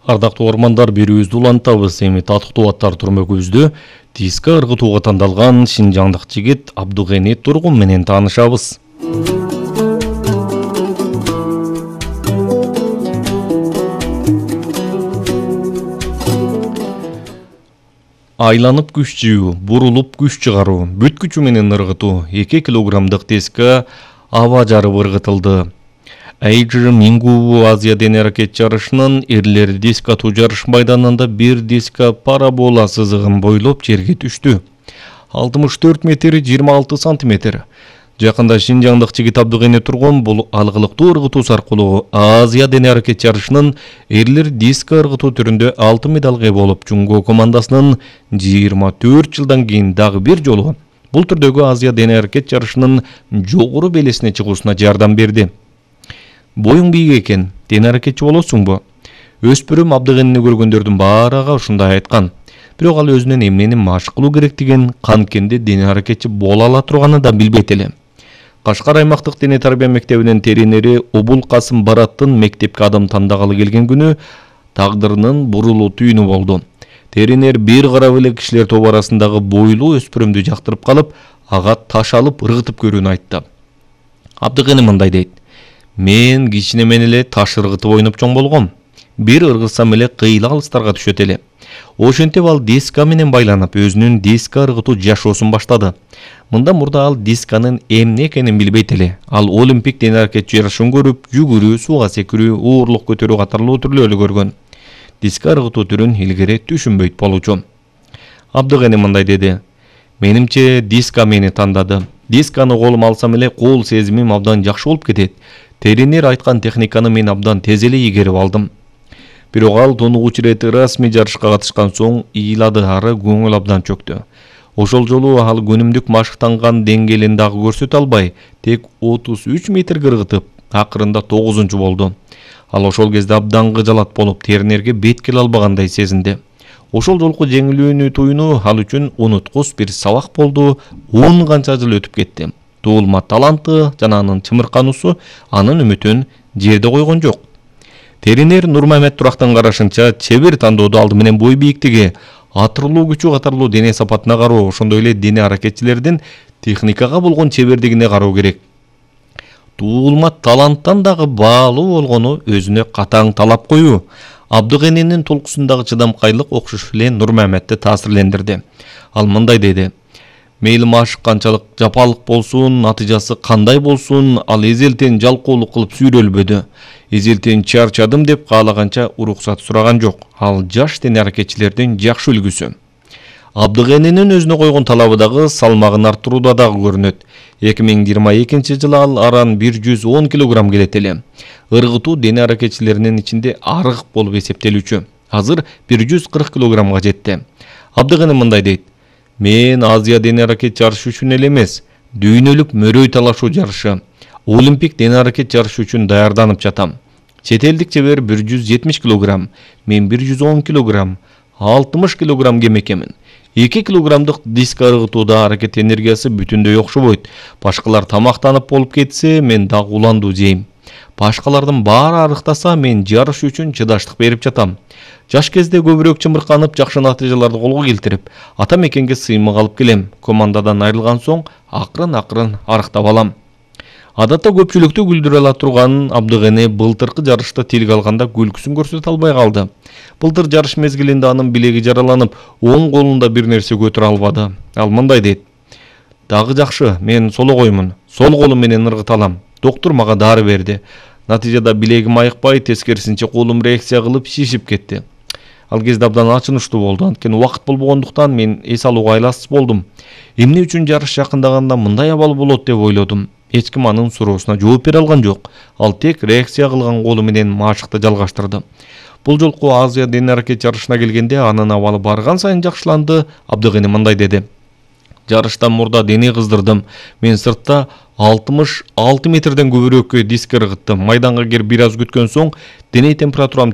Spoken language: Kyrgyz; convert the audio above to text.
Ардактуу ормандар, берүүбүздү улантабыз. Эми татыктуу аттар турмөгүбүздө диска ыргытууга тандалган шинжаңдык жигит Абдыгене Тургун менен таанышабыз. Айланып күч жыйуу, бурулуп күч чыгаруу, бүт күчү менен ыргытуу 2 килограммдык диска аба жарып ыргытылды. Эйджи Мингу Азия дене аракет жарышынын эрлер диск атуу жарыш майданында бир диска парабола сызыгын бойлоп жерге түштү. 64 метр 26 сантиметр. Жакында шинжаңдык жигит Абдыгене Тургун бул алгылыктуу ыргытуу аркылуу Азия дене аракет жарышынын эрлер диск ыргытуу түрүндө алтын медалга ээ болуп, Жунго командасынын 24 жылдан кийин дагы бир жолу бул түрдөгү Азия дене аракет жарышынын жогору белесине чыгуусуна жардам берди. Боюң бийик экен, дене аракетчи болосуңбу? Өспүрүм Абдыгенени көргөндөрдүн баары ага ушундай айткан. Бирок ал өзүнүн эмнени машык кылуу керектигин, канткенде дене аракетчи боло ала турганын да билбейт эле. Кашкар аймактык дене тарбия мектебинин тренери Обул Касым Бараттын мектепке адам тандагалы келген күнү тагдырынын бурулуу түйүнү болду. Тренер бир карап эле кишилер тобу арасындагы бойлуу өспүрүмдү жактырып калып, ага таш алып ыргытып көрүүнү айтты. Абдыгене мындай дейт: "Мен кичинемен эле таш ыргытып ойноп чоң болгом. Бир ыргытсам эле кыйла алыстарга түшөт эле. Ошентип ал диска менен байланып, өзүнүн диска ыргытуу жашоосун баштады. Мындан мурда ал дисканын эмне экенин билбейт эле. Ал олимпик дене аракет жарышын көрүп, жүгүрүү, сууга секирүү, уурлук көтөрүү катарлуу түрлөрү көргөн. Диска ыргытуу түрүн илгери түшүнбөйт болчу." Абдыгене мындай деди: "Менимче диска мени тандады. Дисканы колума алсам эле кол сезимим абдан жакшы болуп кетет. Тренер айткан техниканы мен абдан тез эле ийгерип алдым." Бирок ал тунугуч ирет расмий жарышка катышкан соң ыйлады, ары көңүл абдан чөктү. Ошол жолу ал күнүмдүк машыктанган деңгээлин дагы көрсөтө албай, тек 33 метр ыргытып, акырында 9-чу болду. Ал ошол кезде абдан кыжалат болуп, тренерге бет келе албагандай сезинди. Ошол жолку жеңилүүнү туюну ал үчүн унуткус бир сабак болду. 10 канча жыл өтүп кетти. Туулма таланты жана анын чымыркануусу анын үмүтүн жерде койгон жок. Тренер Нурмамет Турактын карашынча, чебер тандоодо алды менен бой бийиктиги, атырлуу күчү катарлуу дене сапатына кароо, ошондой эле дене аракетчилердин техникага болгон чебердигине кароо керек. Туулма таланттан дагы баалуу болгону өзүнө катаң талап коюу. Абдыгененин толкусундагы чыдамкайлык окшош эле Нурмаметти таасирлендирди. Ал мындай деди: "Мейли машык канчалык жапалык болсун, натыйжасы кандай болсун, ал эзелтен жалкоолук кылып сүйрөлбөдү. Эзелтен чарчадым деп каалаганча уруксат сураган жок. Ал жаш дене аракетчилердин жакшы үлгүсү." Абдыгененин өзүнө койгон талабы дагы салмагын арттырууда дагы көрүнөт. 2022 жылы ал аран 110 килограмм келет эле. Ыргытуу дене аракетчилеринин ичинде арык болуп эсептелүүчү. Азыр 140 килограммга жетти. Абдыгене мындай дейт: "Мен Азия дене аракет жарышы үчүн эле эмес, дүйнөлүк мөрөй талашуу жарышы, олимпик дене аракет жарышы үчүн даярданып жатам. Чет элдик чебер 170 килограмм, мен 110 килограмм, 60 килограмм кем экенмин. 2 килограммдык диска ыргытууда аракет энергиясы бүтүндөй окшобойт. Башкалар тамактанып болуп кетсе, мен дагы уландуу жейм. Башкалардын баары арыктаса, мен жарыш үчүн чыдаштык берип жатам. Жаш кезде көбүрөөк чымырканып, жакшы натыйжаларды колго келтирип, ата мекенге сыймык алып келем. Командадан айрылган соң акырын арыктап алам." Адатта көпчүлүктү күлдүрө ала турган Абдыгене былтыркы жарышта тилге алганда күлкүсүн көрсөтө албай калды. Былтыр жарыш мезгилинде анын билеги жараланып, оң колунда бир нерсе көтөрө албады. Ал мындай дейт: "Дагы жакшы, мен сологоймун. Сол колум менен ыргыта алам. Доктур мага дары берди. Натыйжада билегим айыкпай, тескерисинче колум реакция кылып шишип кетти. Ал кезде абдан ачынычтуу болду. Анткени убакыт болбогондуктан мен эс алууга айласыз болдум. Эмне үчүн жарыш жакындаганда мындай абал болот деп ойлодум. Эч ким анын суроосуна жооп бере алган жок. Ал тек реакция кылган колу менен машыкты жалгаштырды. Бул жолку Азия дене аракет жарышына келгенде анын абалы барган сайын жакшыланды." Абдыгене мындай деди: "Жарыштан мурда дене кыздырдым. Мен сыртта 66 метрден көбүрөөккө диск ыргыттым. Майданга кирип бир аз күткөн соң дене температурам